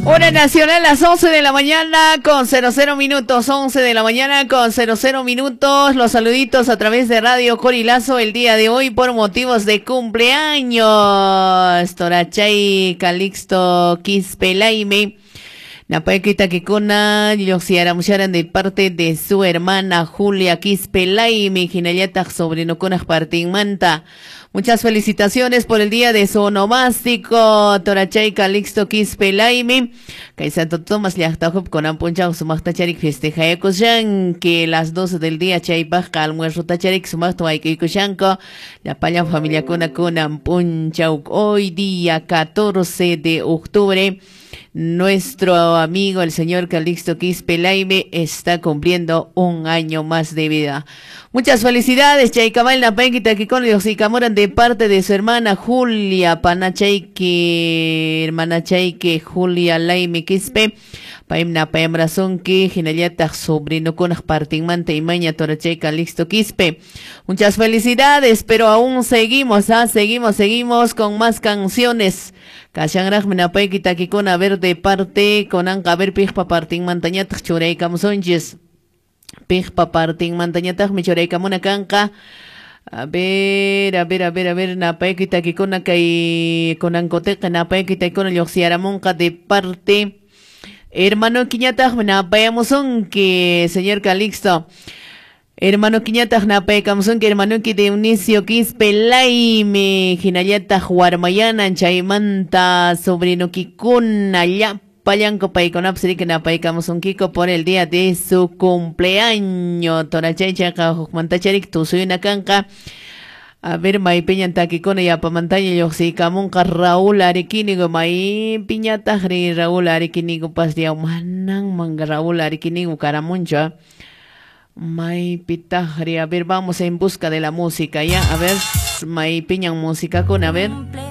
Hora nacional, las 11 de la mañana con 00 minutos, 11 de la mañana con 00 minutos. Los saluditos a través de Radio Corilazo el día de hoy por motivos de cumpleaños. Torachay Calixto Quispelaime. Napaykita kikuna lluqsiyaramusharan de parte de su hermana Julia Quispelaime, hinallataq sobrinokunaq partinmanta. Muchas felicitaciones por el día de su onomástico, Torachay Calixto Quispelaime. Kay Santo Tomás llaqtahup kunan p'unchaw sumaqta charik festejayakushan, que las 12 del día chaypaqqa almuerzo tacharik sumaqta wayk'uykushanku. Llapallan familiakuna kunan p'unchaw, hoy día 14 de octubre. Nuestro amigo el señor Calixto Quispe Laime está cumpliendo un año más de vida. Muchas felicidades, Chaykamal napayki takikuna lluqsiykamuran de parte de su hermana Julia Panachayki, hermana Chayki Julia Laime Quispe. Paymi napayamrasunki, hinallataq sobrinokunaq partinmanta imaña Torachay Calixto Quispe. Muchas felicidades, pero aún seguimos, seguimos, seguimos con más canciones. Kashanraqmi napayki takikuna, a ver de parte, kunanqa a ver piqpa partinmantañataq churaykamusunchis. Piqpa partinmantañataqmi churaykamuna kanqa. A ver, a ver, a ver, a ver, napayki takikuna kay kunankutiqa napayki takikuna lluqsiyaramunqa de parte hermano kiñataqmi napayamusunki, señor Calixto. Hermano kiñataq napaykamusunki, hermanoki Dionisio Quispe Laime, hinallataq warmayanan chaymanta sobrinokikuna llapallanku paykunapas riki napaykamusunkiko por el día de su cumpleaños. Torachay chayqa hukmantacharik tusuyna kanqa. A ver, maypiñan takikuna yapamantaña lluqsiykamunqa Raúl Ariquínigo, maypiñataqri Raúl Ariquínigo pas diaw manan Raúl Ariquínigo karamunchu. Maypitaqri, a ver, vamos en busca de la música, ya, a ver, maypiñan música con, a ver.